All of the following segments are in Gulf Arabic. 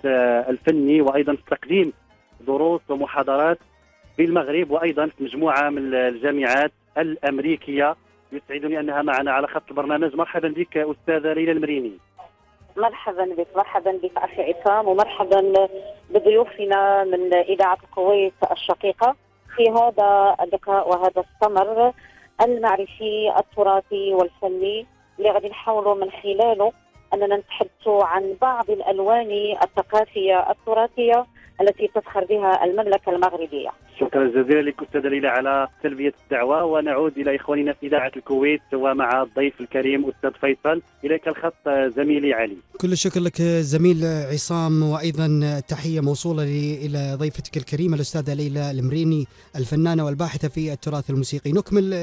الفني، وأيضا تقديم دروس ومحاضرات في المغرب وأيضا في مجموعة من الجامعات الأمريكية. يسعدني أنها معنا على خط البرنامج. مرحبا بك أستاذة ليلى المريني. مرحبا بك، مرحبا بك أخي عصام، ومرحبا بضيوفنا من إذاعة الكويت الشقيقة في هذا اللقاء وهذا السمر المعرفي التراثي والفني اللي غادي نحاولوا من خلاله أننا نتحدثوا عن بعض الألوان الثقافية التراثية التي تفخر بها المملكة المغربية. شكرا جزيلا لك أستاذة ليلى على تلبية الدعوة، ونعود إلى إخواننا في إذاعة الكويت ومع الضيف الكريم أستاذ فيصل. إليك الخط زميلي علي. كل الشكر لك زميل عصام، وأيضا تحية موصولة إلى ضيفتك الكريمة الأستاذة ليلى المريني الفنانة والباحثة في التراث الموسيقي. نكمل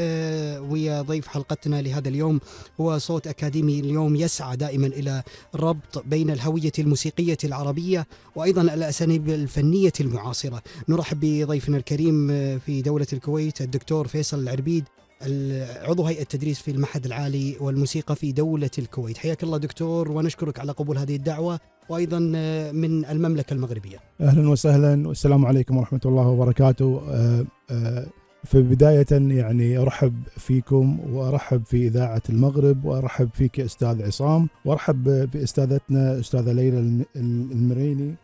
ويا ضيف حلقتنا لهذا اليوم، هو صوت أكاديمي اليوم يسعى دائما إلى ربط بين الهوية الموسيقية العربية وأيضا الأساليب الفنية المعاصرة. نرحب بضيفنا الكريم في دولة الكويت الدكتور فيصل العربيد، عضو هيئة التدريس في المعهد العالي والموسيقى في دولة الكويت. حياك الله دكتور، ونشكرك على قبول هذه الدعوة، وأيضا من المملكة المغربية. أهلا وسهلا، والسلام عليكم ورحمة الله وبركاته. في بداية يعني أرحب فيكم وأرحب في إذاعة المغرب، وأرحب فيك أستاذ عصام، وأرحب بأستاذتنا أستاذة ليلى المريني،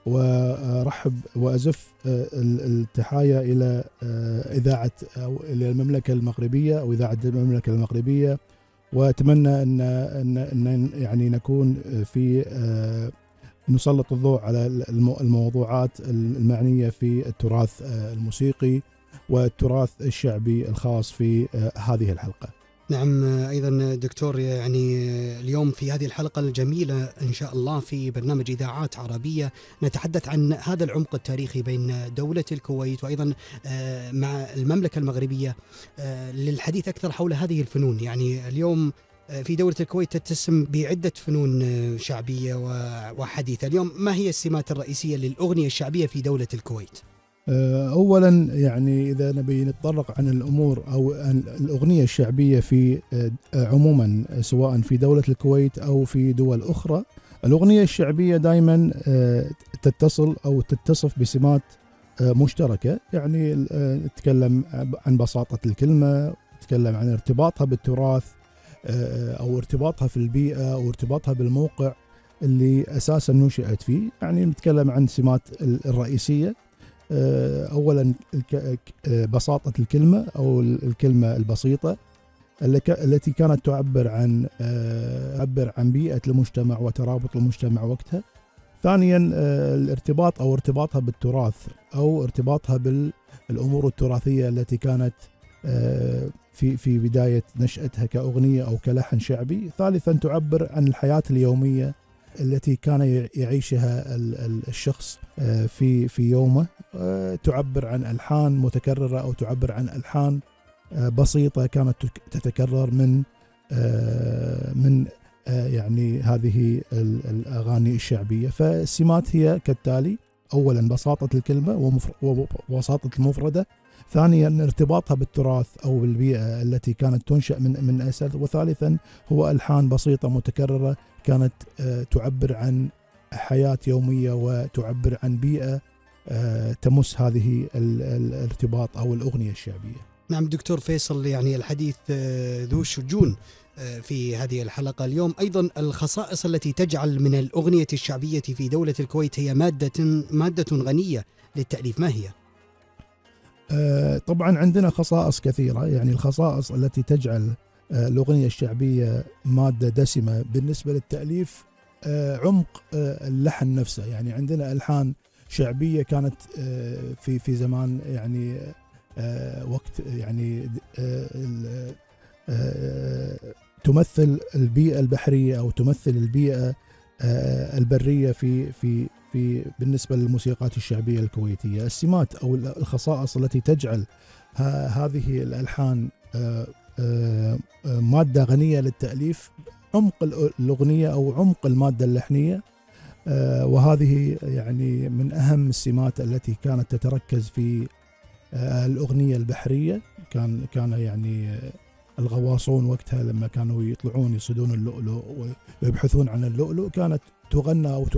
وأرحب وأزف التحايا إلى إذاعة أو إلى المملكة المغربية أو إذاعة المملكة المغربية، وأتمنى أن يعني نكون في نسلط الضوء على الموضوعات المعنية في التراث الموسيقي والتراث الشعبي الخاص في هذه الحلقة. نعم أيضا دكتور، يعني اليوم في هذه الحلقة الجميلة إن شاء الله في برنامج إذاعات عربية نتحدث عن هذا العمق التاريخي بين دولة الكويت وأيضا مع المملكة المغربية للحديث أكثر حول هذه الفنون. يعني اليوم في دولة الكويت تتسم بعدة فنون شعبية وحديثة. اليوم ما هي السمات الرئيسية للأغنية الشعبية في دولة الكويت؟ أولا يعني إذا نبي نتطرق عن الأمور أو الأغنية الشعبية في عموما سواء في دولة الكويت أو في دول أخرى، الأغنية الشعبية دائما تتصل أو تتصف بسمات مشتركة. يعني نتكلم عن بساطة الكلمة، نتكلم عن ارتباطها بالتراث أو ارتباطها في البيئة أو ارتباطها بالموقع اللي أساسا نشأت فيه. يعني نتكلم عن سمات الرئيسية. أولا بساطة الكلمة أو الكلمة البسيطة التي كانت تعبر عن بيئة المجتمع وترابط المجتمع وقتها. ثانيا الارتباط أو ارتباطها بالتراث أو ارتباطها بالأمور التراثية التي كانت في بداية نشأتها كأغنية أو كلحن شعبي. ثالثا تعبر عن الحياة اليومية التي كان يعيشها الشخص في يومه. تعبر عن ألحان متكررة أو تعبر عن ألحان بسيطة كانت تتكرر من يعني هذه الأغاني الشعبية. فالسمات هي كالتالي: أولا بساطة الكلمة وبساطة المفردة، ثانيا ارتباطها بالتراث أو بالبيئة التي كانت تنشأ من أسل، وثالثا هو ألحان بسيطة متكررة كانت تعبر عن حياة يومية وتعبر عن بيئة تمس هذه الارتباط أو الأغنية الشعبية. نعم دكتور فيصل، يعني الحديث ذو شجون في هذه الحلقة اليوم. أيضا الخصائص التي تجعل من الأغنية الشعبية في دولة الكويت هي مادة غنية للتأليف، ما هي؟ طبعا عندنا خصائص كثيرة. يعني الخصائص التي تجعل الأغنية الشعبية مادة دسمة بالنسبة للتأليف عمق اللحن نفسه. يعني عندنا ألحان شعبية كانت في زمان يعني وقت يعني تمثل البيئة البحرية أو تمثل البيئة البرية في بالنسبة للموسيقات الشعبية الكويتية. السمات أو الخصائص التي تجعل هذه الألحان مادة غنية للتأليف: عمق الأغنية أو عمق المادة اللحنية، وهذه يعني من أهم السمات التي كانت تتركز في الأغنية البحرية. كان يعني الغواصون وقتها لما كانوا يطلعون يصيدون اللؤلؤ ويبحثون عن اللؤلؤ كانت تغنى أو